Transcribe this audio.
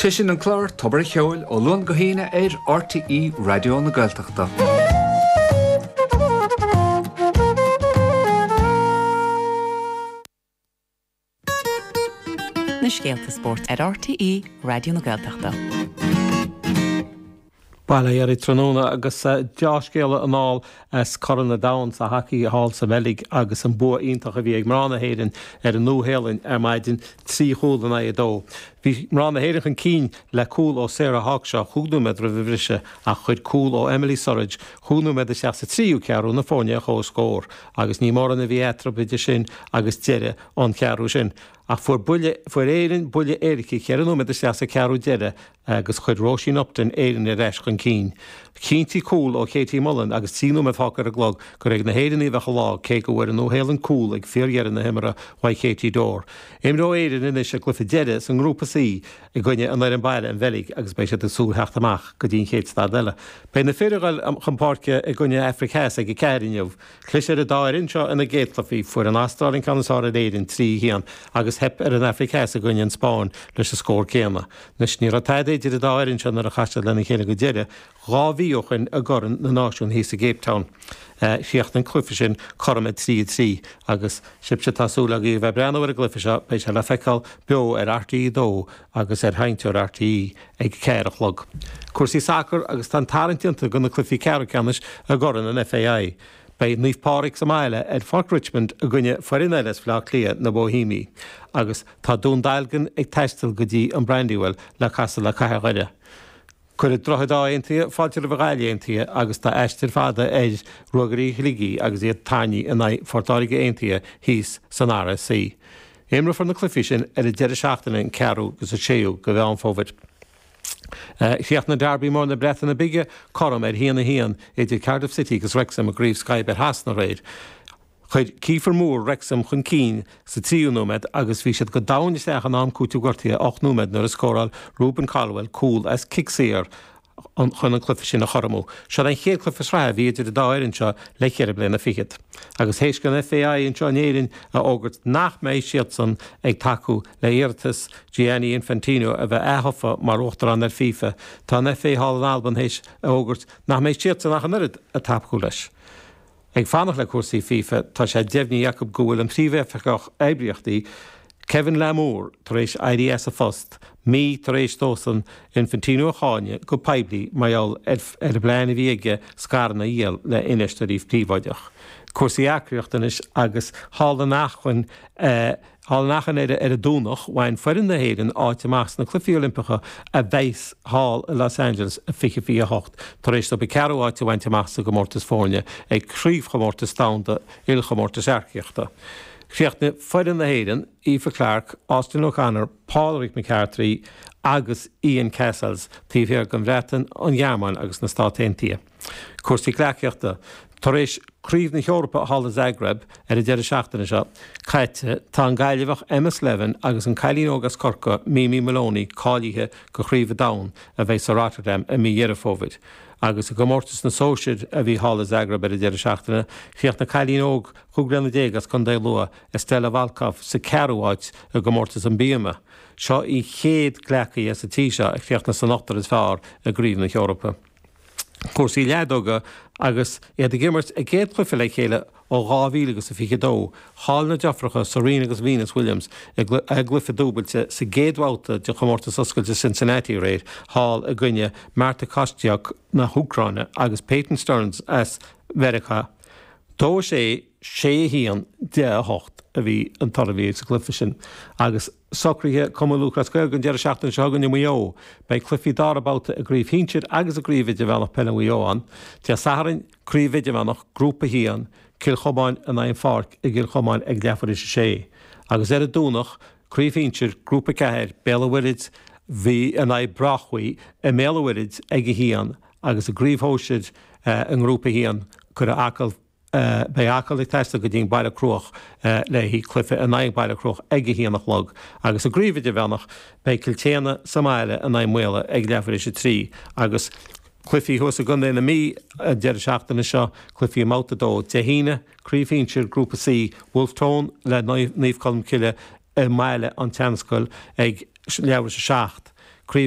Sé sin an clár Tobar a' Cheoil ó Luan go hAoine ar RTÉ Raidió na Gaeltachta. Na scéalta spóirt ar RTÉ Raidió na Gaeltachta. Bail ó Dhia oraibh tráthnóna agus deá-scéala anall as Corn an Domhain sa hacaí thall sa Bheilg agus an bua iontach a bhí ag mná na hÉireann ar an Nua-Shéalainn ar maidin, 3 chúl in aghaidh 2. Bhí mná na hÉireann chun cinn le cúl ó Sarah Hawkshaw chúig nóiméad roimh an bhriseadh ach chuir cúl ó Emily Surridge chúig nóiméad isteach sa tríú ceathrú na foirne ar comhscór agus ní mórán a bhí eatarthu idir sin agus deireadh an cheathrú sin. Ach fuair buille, fuair Éirinn buille éirice cheithre nóiméad isteach sa cheathrú deiridh agus chuir Róisín Upton Éirinn ar ais chun cinn. Chinntigh cúl ó Katie Mullan agus 3 nóiméad fágtha ar an gclog gur ag na hÉireannaigh a bheadh an lá cé go bhfuair an Nua-Shéalainn cúl ag fíordheireadh na himeartha uaidh Katie Dorr. Imreoidh Éirinn anois a gcluiche deiridh sa nGrúpa C i gcoinne an fhoireann baile, an Bheilg, agus beidh siad ag súil theacht amach go dtí an chéad staid eile. Beidh na fir ag dul chun páirce i gcoinne Afraic Theas ag 4 inniu. Chlis ar an dá fhoireann seo ina gcéad chluichí. Fuair an Astráil an ceann is fearr ar Éirinn, 3, 1, agus theip ar an Afraic Theas i gcoinne an Spáinn leis an scór céanna. Anois, ní raibh tada idir an dá fhoireann seo nuair a chas siad lena chéile go deireadh, 2 mhí ó shoin i gCorn na Náisiún thíos i gCape Town. Chríochnaigh an cluiche sin cothrom ag 3, 3 agus sibhse atá súil agaibh a bheith ag breathnú ar an gcluiche seo, beidh sé le feiceáil beo ar RTÉ 2 agus ar Sheinnteoir RTÉ ag 4 a chlog. Cúrsaí sacair agus tá an tarraingt déanta do na cluichí ceathrú ceannais i gCorn an FAI. Beidh Naomh Pádraig sa mbaile ar Pháirc Richmond i gcoinne foireann eile as Bhaile Átha Cliath, na Bohemiaigh, agus tá Dún Dealgan ag taisteal go dtí an Brandywell le casadh le Cathair Dhoire. Cuirfidh Droichead Átha Aontaithe fáilte roimh an Ghaillimh Aontaithe agus tá aistear fada ar Ruagairí Shligigh agus iad tarraingthe in aghaidh Phort Láirge Aontaithe thíos san RSC. Imreofar na cluichí sin ar an deireadh seachtaine an 4ú agus an 6ú de Mheán Fómhair. Chríochnaigh Derby mór na Breataine Bige cothrom ar 1-1 idir Cardiff City agus Wrexham i gCraobh Sky Bet Shasana aréir. Chuir Kieffer Moore Wrexham chun cinn sa tríú nóiméad agus bhí siad go domhain isteach in am cúitimh gortaithe 8 nóiméad nuair a scóráil Rubin Colwill cúl as cic saor chun an cluiche sin a chothromú. Seo an chéad cluiche sraithe a bhí idir an dá fhoireann seo le ceithre bliana fichead. Agus théis don FAI anseo in Éirinn a fhógairt nach mbeidh siadsan ag tacú le hiarratas Gianni Infantino a bheith aththofa mar uachtarán ar FIFA, tá an FA thall in Albain théis a fhógairt nach mbeidh siadsan ach an oiread ag tacú leis. Ag fanacht le cúrsaí FIFA, tá sé deimhnithe acu go bhfuil an Príomhoifigeach Oibríochtaí, Kevin Lamour, tar éis éirí as a phost, mí tar éis dósan Infantino a cháineadh go poiblí mar gheall ar an bplean a bhí aige scaireanna a dhíol le infheisteoirí príobháideach. Cúrsaí earcaíochta anois agus thall in Achréidh Thall in Achréidh ar an Domhnach, bhain foireann na hÉireann áit amach sna Cluichí Oilimpeacha a bheas thall i Los Angeles i 2028, tar éis dóibh an ceathrú áit a bhaint amach sa gcomórtas foirne ag Craobhchomórtas Domhanda Ilchomórtais Earcaíochta. Chríochnaigh foireann na hÉireann, Aoife Clarke, Austin O'Connor, Pádraig McCarthy agus Ian Cassells, taobh thiar den Bhreatain, an Ghearmáin agus na Stáit Aontaithe. Cúrsaí gleacaíochta. Tar éis Craobh na hEorpa thall i Zagreb ar an deireadh seachtaine seo caite, tá an Gaillimheach Emma Slevin agus an cailín óg as Corcaigh, Mimi Moloney, cáilithe do Chraobh an Domhain a bheidh sa Rotterdam i mí Dheireadh Fómhair. Agus i gcomórtas na sóisear a bhí thall i Zagreb ar an deireadh seachtaine, chríochnaigh cailín óg 15 bliana as Contae Lú, Estella Volkov, sa ceathrú háit i gcomórtas an bíoma. Seo í an chéad gleacaí as an tír seo a chríochnaigh san ochtar is fearr i gCraobh na hEorpa. cúrsaí leadóga agus iad ag imirt a gcéad chluiche le chéile ó 2022. Chaill na deirfiúracha Serena agus Venus Williams i gcluiche dúbailte sa gcéad bhabhta de Chomórtas Oscailte Cincinnati aréir thall i gcoinne Marta Kostyuk na hÚcráine agus Peyton Stearns as Mheiriceá. 2, 6, 6, 1, 10, 8 a bhí an toradh a bhí sa gcluiche sin agus Socruithe Chumann Lúthchleas Gael don deireadh seachtaine seo chugainn i Maigh Eo. Beidh cluichí dara babhta i gCraobh Shinsir agus i gCraobh Idirmheánach Peile Mhaigh Eo ann. Dé Sathairn, Craobh Idirmheánach, Grúpa 1, Cill Chomáin in aghaidh An Pháirc i gCill Chomáin ag leathuair théis a sé. Agus ar an Domhnach, Craobh Shinsir, Grúpa 4, Béal an Mhuirthead in aghaidh Brochui i mBéal an Mhuirthead ag a haon agus i gCraobh Shóisir i nGrúpa 1, cuirfidh Acaill Beidh Acaill ag taisteal go dtí an Baile Cruach le haghaidh cluiche in aghaidh Baile Cruach ag a haon a chlog agus i gCraobh Idirmheánach beidh Cill tSéadhna sa mbaile in aghaidh Maola ag leathuair théis a 3 agus cluichí thuas i gContae na Mí an deireadh seachtaine seo, cluichí i mBabhta 2 Dé hAoine, Craobh Shinsir Grúpa C, Wolfe Tone le Naomh Colmcille i mBaile an tSeanscoil ag leathuair théis a 7. Craobh.